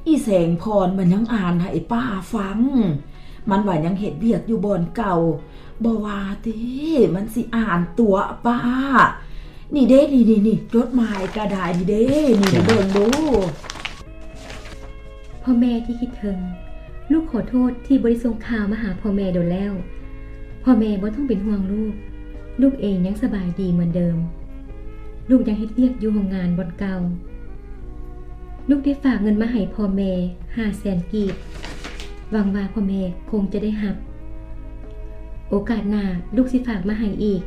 ອີແສງພອນມັນຍັງອ່ານໃຫ້ປ້າຟັງ. ມັນວ່າຍັງເຮັດວຽກຢູ່ບ່ອນເກົ່າ. ບໍ່ວ່າຕິ ມັນຊິອ່ານຕົວະປ້າ. ນີ້ເດ້ ນີ້ໆໆ ຈົດໝາຍກະດາຍນີ້ເດ້ ນີ້ເບິ່ງດູ. ພໍ່ແມ່ທີ່ຄິດເຖິງ, ລູກຂໍໂທດທີ່ບໍ່ໄດ້ສົ່ງຂ່າວມາຫາພໍ່ແມ່ດົນແລ້ວ. ພໍ່ແມ່ບໍ່ຕ້ອງເປັນຫ່ວງລູກ, ລູກເອງຍັງສະບາຍດີເໝືອນເດີມ. ລູກຍັງເຮັດວຽກຢູ່ໂຮງງານບ່ອນເກົ່າ. ລູກໄດ້ຝາກເງິນມາໃຫ້ພໍ່ແມ່ຫ້າແສນກີບ, ຫວັງວ່າພໍ່ແມ່ຄົງຈະໄດ້ຮັບ. ໂອກາດໜ້າລູກຊິຝາກມາໃຫ້ອີກ.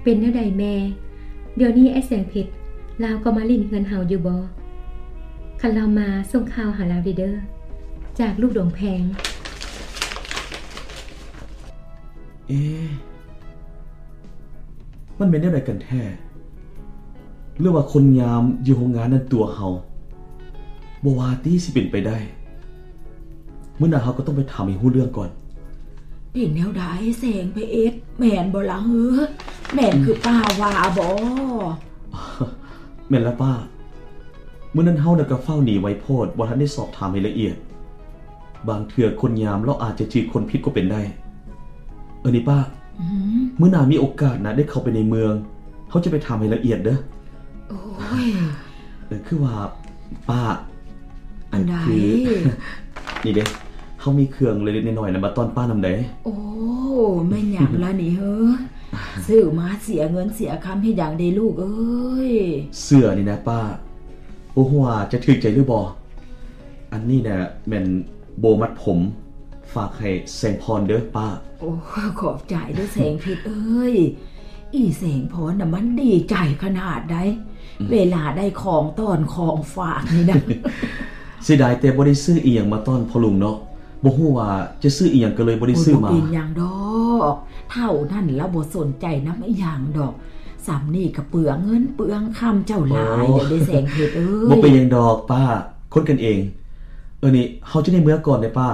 ເປັນແນວໃດແມ່? ດຽວນີ້ອ້າຍແສງເພັດລາວກໍມາຫຼິ້ນເຮືອນເຮົາຢູ່ບໍ່? ຄັນລາວມາສົ່ງຂ່າວຫາລາວເດີ້. ຈາກລູກດວງແພງ. ເອ ມັນແມ່ນແນວໃດກັນແທ້? ຫຼືວ່າຄົນຍາມຢູ່ໂຮງງານນັ້ນຕົວະເຮົາ? ບໍ່ວ່າຕິ ຊິເປັນໄປໄດ້. ມື້ໜ້າເຮົາກໍຕ້ອງໄປຖາມໃຫ້ຮູ້ເລື່ອງກ່ອນ. ເປັນແນວໃດແສງເພັດ? ແມ່ນບໍ່ລະເຮີ? ແມ່ນຄືປ້າວ່າບໍ່? ແມ່ນລະປ້າ. ມື້ນັ້ນເຮົານະກໍຟ້າວໜີໄວໂພດ, ບໍ່ທັນໄດ້ສອບຖາມໃຫ້ລະອຽດ. ບາງເທື່ອຄົນຍາມລາວອາດຈະຈື່ຄົນຜິດກໍເປັນໄດ້. ເອີ ນີ້ປ້າ, ອືມ ມື້ໜ້າມີໂອກາດນະ ໄດ້ເຂົ້າໄປໃນເມືອງ, ເຮົາຈະໄປຖາມໃຫ້ລະອຽດເດີ້. ໂອ້ຍ ເອີ ຄືວ່າປ້າ, ອັນໃດ? ຄື ນີ້ເດ້, ເຮົາມີເຄື່ອງເລັກໆນ້ອຍໆນະ ມາຕ້ອນປ້ານຳໃດ. ໂອ້ ແມ່ນຫຍັງລະນີ້ເຮີ? ຊື້ມາເສຍເງິນເສຍຄຳເຮັດຫຍັງເດລູກເອີຍ? ເສື້ອນີ້ນະປ້າ, ບໍ່ຮູ້ວ່າຈະຖືກໃຈຫຼືບໍ່? ອັນນີ້ນະແມ່ນໂບມັດຜົມ, ຝາກໃຫ້ແສງພອນເດີ້ປ້າ. ໂອ້ ຂອບໃຈເດີ້ແສງເພັດເອີຍ. ອີແສງພອນນະມັນດີໃຈຂະໜາດໃດ ອືມ ເວລາໄດ້ຂອງຕ້ອນຂອງຝາກນີ້ນະ. ເສຍດາຍແຕ່ບໍ່ໄດ້ຊື້ອີ່ຫຍັງມາຕ້ອນພໍ່ລຸງເນາະ. ບໍ່ຮູ້ວ່າຈະຊື້ອີ່ຫຍັງ ກໍເລີຍບໍ່ໄດ້ຊື້ມາ. ໂອ້ຍ ບໍ່ເປັນຫຍັງດອກ, ເຖົ້ານັ້ນລາວບໍ່ສົນໃຈນຳອີ່ຫຍັງດອກ. ສ່ຳນີ້ກໍເປືອງເງິນເປືອງຄຳເຈົ້າຫຼາຍແລ້ວເດ້ແສງເພັດເອີຍ. ບໍ່ເປັນຫຍັງດອກປ້າ, ຄົນກັນເອງ. ເອີ ນີ້ເຮົາຈະໄດ້ເມືອກ່ອນເດ້ປ້າ,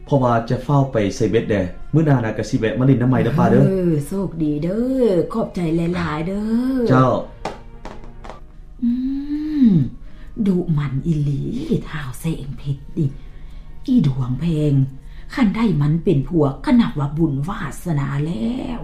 ເພາະວ່າຈະຟ້າວໄປໃສ່ເບັດແດ່. ມື້ໜ້ານະກໍຊິແວະມາຫຼິ້ນນຳໃໝ່ເດີ້ປ້າເດີ້. ເອີ ໂຊກດີເດີ້, ຂອບໃຈຫຼາຍໆເດີ້. ເຈົ້າ. ອືມ ດຸໝັ່ນອີ່ຫຼີ ທ້າວແສງເພັດນີ້. ອີດວງແພງ, ຄັນໄດ້ມັນເປັນຜົວກໍນັບວ່າບຸນວາສະໜາແລ້ວ.